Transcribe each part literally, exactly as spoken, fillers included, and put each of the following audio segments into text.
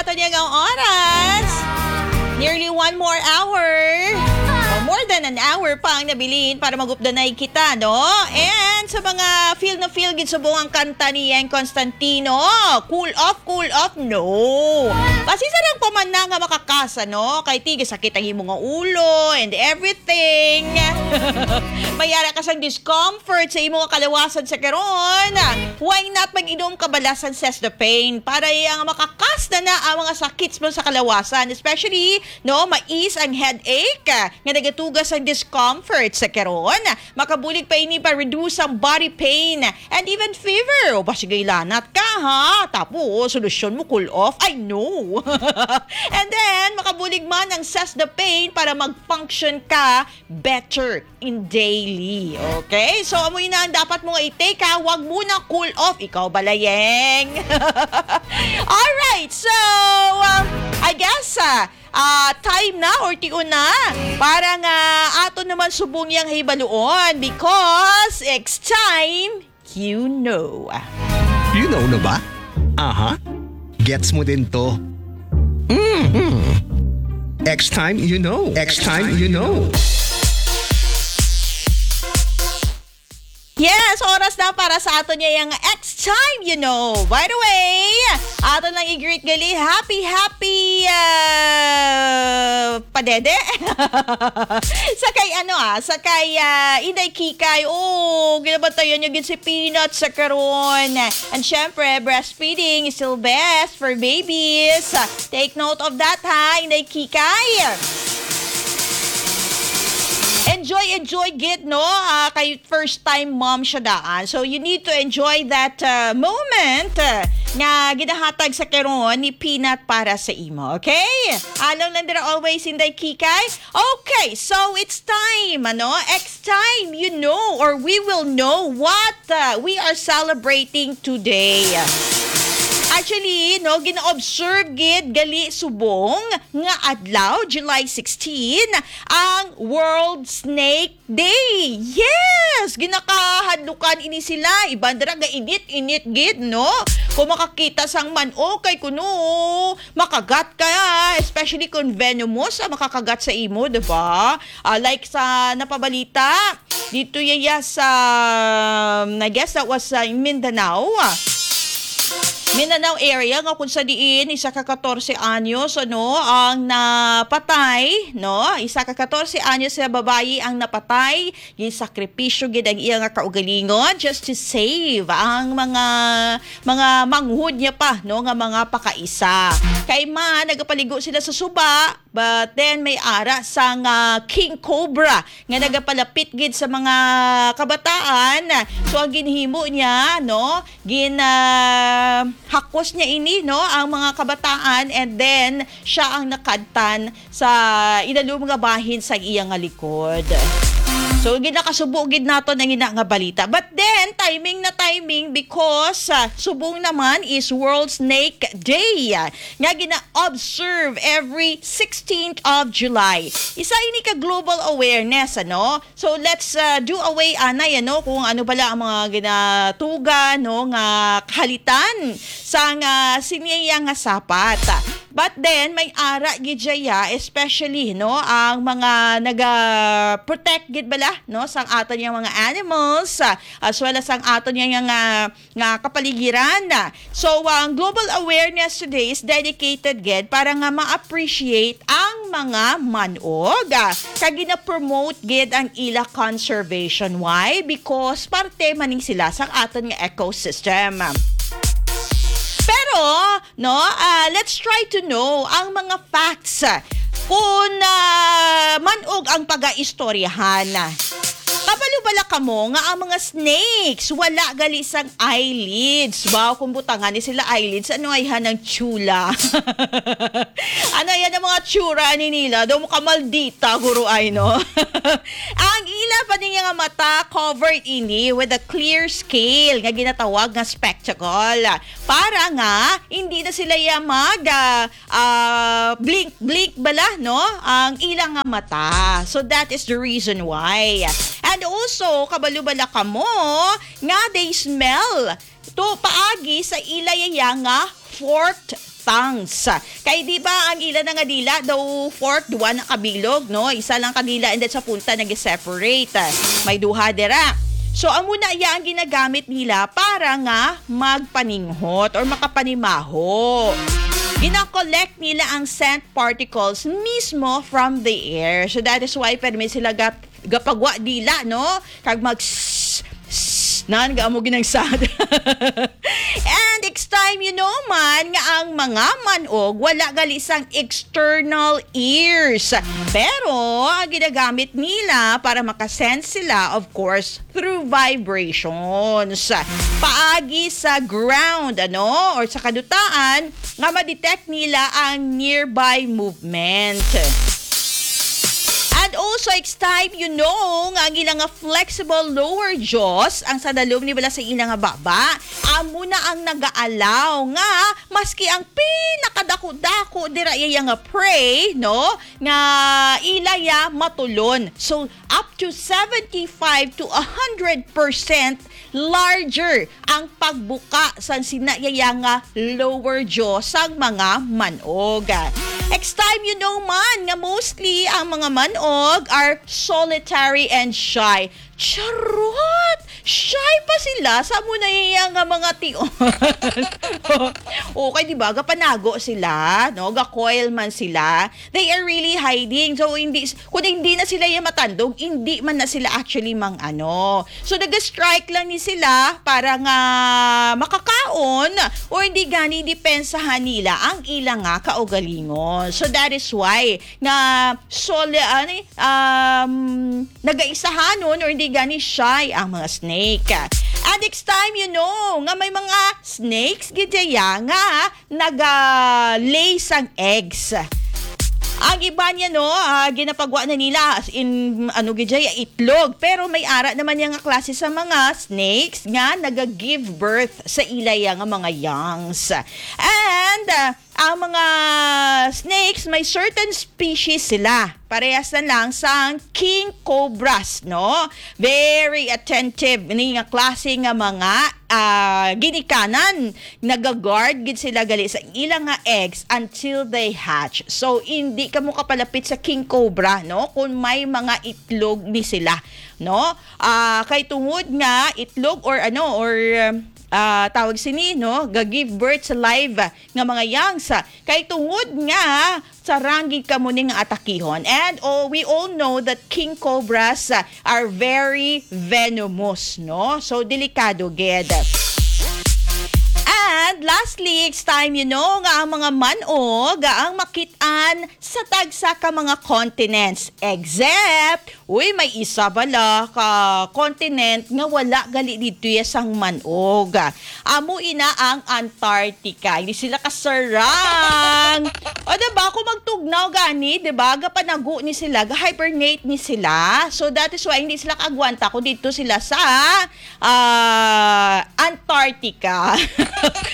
Ato niya nga oras. Nearly one more hour. O, more than an hour pa ang nabilin para magupdanay kita, no? And sa mga feel na feel gid subong ang kanta ni Yeng Constantino, "Cool off, cool off, no." Pasisa lang pa man na nga makakasa, no? Kay tigasakit ang imo nga ulo and everything. May ara ka sang discomfort sa imo nga kalawasan sa karon. Why not mag-inom ka bala sang Cess the Pain para iya nga makakas na na ang mga sakit mo sa kalawasan, especially, no, mais ang headache, ah, nga nagatugas ang discomfort sa karon. Makabulig pa ini pa reduce ang body pain and even fever. O ba, sige, lanat ka, ha? Tapos, solusyon mo, cool off. I know. And then, makabulig man ang Cess the Pain para mag-function ka better in daily. Okay? So, amo na ang dapat mo nga i-take, ha? Wag mo na cool off. Ikaw bala, Yeng. Alright. So, um, I guess, ah, ah, time na or tion na para nga ato naman subong yang hibaluon because it's time you know. You know na ba? Aha. Gets mo din to. Mhm. X time you know. X time you know. Yes, oras na para sa ato niya yung X time you know. By the way, ato lang i-greet gali. Happy, happy, ah, padede. Sa kay ano, ah, sa kay, ah, Inday Kikay. Oh, ginabantayan niya gid si Peanut sa karon. And syempre, breastfeeding is still best for babies. Take note of that, ha, Inday Kikay. Enjoy, enjoy gid, no? Ah, kay first time mom siya daan. So, you need to enjoy that, uh, moment, uh, nga ginahatag sa karon ni Peanut para sa imo, okay? Along lang dira always, Inday Kikay. Okay, so it's time, ano? X time, you know, or we will know what, uh, we are celebrating today. Actually, no, gina-observe gid gali subong nga adlaw, July sixteen, ang World Snake Day. Yes! Ginakahadlukan ini sila. Iban dira ga init-init gid, no? Kung makakita sang man-ok, kay kuno makagat ka, especially kung venomous ang makakagat sa imo, di ba? Ah, like sa napabalita, dito yaya sa, I guess that was sa Mindanao. Mindanao area nga kung sa diin isa ka katorse anyos, ano, ang napatay, no? Isa ka katorse anyos nga babayi ang napatay. Gisakripisyo gid ang iya nga kaugalingon just to save ang mga, mga manghud niya pa, no, nga mga pakaisa. Kay man nagapaligo sila sa suba, but then may ara sang, ah, king cobra nga nagapalapit gid sa mga kabataan. So, ang ginhimo niya, no, gin, ah, hakos niya ini, no, ang mga kabataan, and then siya ang nakadtan sa ilalom nga bahin sa iya nga likod. So, ginakasubo gid naton ang ina nga balita. But then, timing na timing because, ah, subong naman is World Snake Day, ah, nga gina-observe every sixteenth of July. Isa ini ka global awareness, ano? So, let's, ah, do away, anay, ano, kung ano bala ang mga ginatuga, no, nga kahalitan sa nga siniya nga sapat. But then, may ara gid siya, especially, no, ang mga naga-protect gid bala, no, sang aton yang mga animals, ah, as well as ang aton yang nga, nga kapaligiran. So, ang Global Awareness Today is dedicated gid para nga ma-appreciate ang mga manog, ah, kag gina-promote gid ang ila conservation. Why? Because parte man ni sila sa aton nga ecosystem. Pero, no, ah, let's try to know ang mga facts, ah, kung, ah, manog ang pagaistoryahan. Kabalo bala kamo nga ang mga snakes wala gali sang eyelids? Wow, kung butangan ni sila eyelids, ano ay hanang tsula? Ano yan ang mga tsura ni nila? Daw mo kamaldita, guro ay, no? Ang ila pa niya nga mata covered ini with a clear scale nga ginatawag nga spectacle. Para nga hindi na sila ya mag, ah, ah, blink-blink bala, no? Ang ila nga mata. So that is the reason why. And also, kabalo bala kamo nga they smell to paagi sa ila yaya nga forked tongues. Kay di ba ang ila na nga dila daw forked, duha na kabilog, no? Isa lang ka dila and then sa punta nag-separate. May duha dira. So, amo na iya ang ginagamit nila para nga magpaninghot or makapanimaho. Gina-collect nila ang scent particles mismo from the air. So, that is why permi sila gap gapagwa dila, no? Kag mag s-, s-, nan, ga amo ginagsad. And it's time you know man nga ang mga manog wala gali sang external ears. Pero ang ginagamit nila para makasense sila, of course, through vibrations. Paagi sa ground, ano, or sa kadutaan, nga ma-detect nila ang nearby movement. And also, it's time you know nga ang ilang nga flexible lower jaws, ang sa dalom ni bala sa ilang nga baba, amo na ang nag-aalaw nga maski ang pinakadako-dako dira iya nga prey, no, nga ila ya matulon. So, up to seventy-five to a hundred percent larger ang pagbuka sang sina iya nga lower jaw sang mga manog. It's time you know man nga mostly ang mga manog are solitary and shy. Charot! Shy pa sila sa amo na iya nga mga tion. Okay, di ba? Gapanago sila, no? Ga-coil man sila. They are really hiding. So, hindi, kung hindi na sila yung matandog, hindi man na sila actually mang ano. So, nag-strike lang ni sila para nga makakaon o hindi gani depensahan nila ang ila nga kaugalingon. So, that is why nga soli-, ano, um, nagaisahanon or hindi gani shy ang mga snake. And next time, you know, nga may mga snakes, gid daya nga naga-lay sang eggs. Ang iba niya, no, ah, ginapagwa na nila as in, ano, gid daya, itlog. Pero may ara naman niya nga klase sa mga snakes nga naga-give birth sa ila ya nga mga youngs. And, ah, ang mga snakes, may certain species sila. Parehas na lang sang king cobras, no? Very attentive ni nga klase nga mga, ah, ginikanan. Naga-guard gid sila gali sa ilang nga eggs until they hatch. So, hindi kamo kapalapit sa king cobra, no? Kung may mga itlog ni sila, no? Ah, kay tungod nga itlog or ano, or, ah, tawag sini, no? Ga-give birth sa live nga mga youngs. Kay tungod nga sarang gid kamo ni nga atakihon. And, oh, we all know that king cobras, ah, are very venomous, no? So, delikado gid. And lastly, it's time, you know, nga ang mga manog, ah, ang makit-an sa tagsa ka mga continents, except, uy, may isa bala ka continent nga wala gali didto ya sang manog. Amo ina ang Antarctica. Hindi sila kasarang. O, diba? Kung magtugnaw gani, diba? Gapanago ni sila, ga-hibernate ni sila. So, that is why hindi sila kaagwanta kung didto sila sa, ah, Antarctica.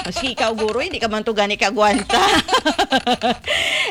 Maski ikaw, guro, hindi ka man to gani kaagwanta.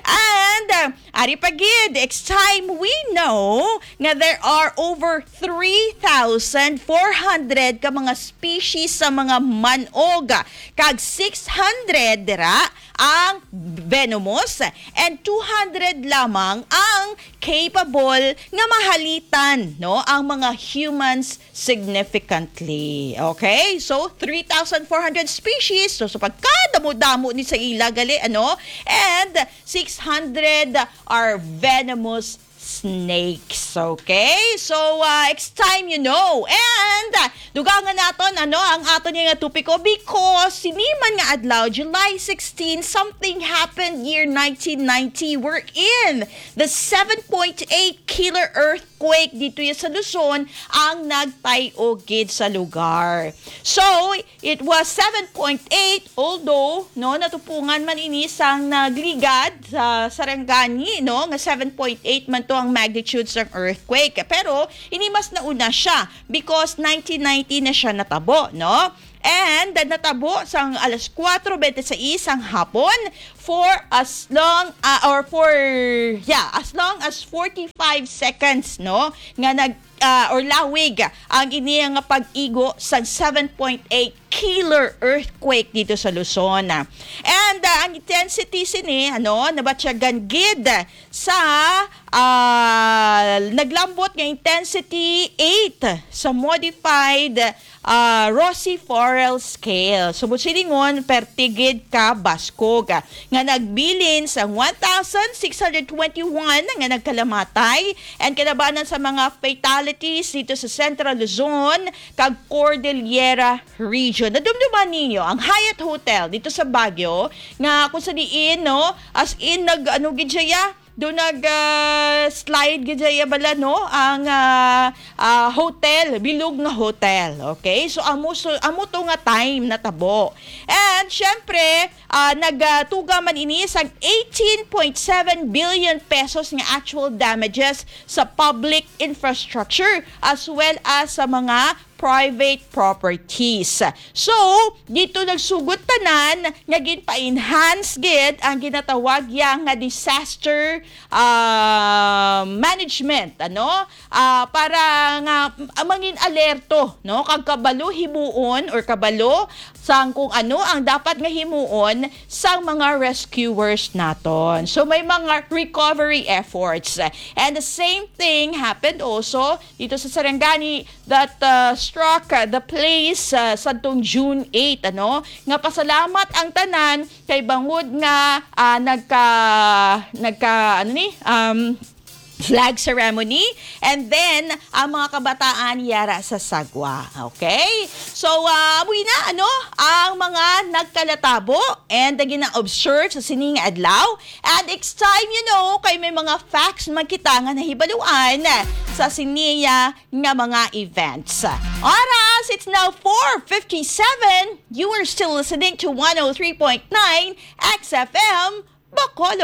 And, ah, ari pa gid, next time we know nga there are over three thousand four hundred ka mga species sa mga manog, kag six hundred dira ang venomous, and two hundred lamang ang capable nga mahalitan, no, ang mga humans significantly. Okay? So, three thousand four hundred species. So, sa pagkadamo-damo ni sa ila gali, ano? And six hundred are venomous snakes. Okay? So, uh, it's time you know. And, uh, dugangan naton, ano, ang aton nga topiko because sini man nga adlaw, July sixteen, something happened year nineteen ninety, wherein the seven point eight killer earthquake dito ya sa Luzon ang nagtay-og gid sa lugar. So, it was seven point eight, although, no, natupungan man ini sang nagligad sa Sarangani, no, nga seven point eight man to ang magnitude sang earthquake. Pero ini mas nauna siya because nineteen ninety na siya natabo, no? And natabo sang alas kuwatro bente sais sang hapon for as long, ah, or for, yeah, as long as forty-five seconds, no, nga nag, ah, or lawig ang ini nga pag-igo sang seven point eight killer earthquake dito sa Luzon. And, ah, ang intensity sini, ano, nabatyagan gid sa, ah, naglambot nga intensity eight sa modified, ah, Rossiforel scale. Subot silingon, perti gid ka baskog, nga nagbilin sa one thousand six hundred twenty-one nga nagkalamatay and kalabanan sa mga fatalities dito sa Central Luzon kag Cordillera Region. Nadumduman ninyo ang Hyatt Hotel dito sa Baguio, nga kung sa diin, no, as in, nag, ano gid siya, do nag, ah, slide gid siya bala, no, ang, ah, ah, hotel, bilog nga hotel. Okay, so amo, so amo to nga time natabo. And syempre, ah, nagtuga man ini sang eighteen point seven billion pesos nga actual damages sa public infrastructure as well as sa mga private properties. So, dito nagsugod tanan nga ginpa-enhance gid ang ginatawag ya nga disaster, ah, management, ano? Ah, para nga, ah, mangin alerto, no? Kag kabalo himuon or kabalo sang kung ano ang dapat nga himuon sang mga rescuers naton. So, may mga recovery efforts. And the same thing happened also dito sa Sarangani that, uh, struck, uh, the place, uh, sadtong June eight, ano, nga pasalamat ang tanan kay bangod nga, ah, nagka, nagka, ano ni, um, flag ceremony, and then ang mga kabataan yara sa sagwa. Okay? So, ah, amoy na, ano, ang mga nagkalatabo and gina-observe sa sining adlaw. And it's time, you know, kay may mga facts man kita nga nahibaluan sa siniya nga mga events. Oras, it's now four fifty-seven. You are still listening to one oh three point nine X F M, Bacolod.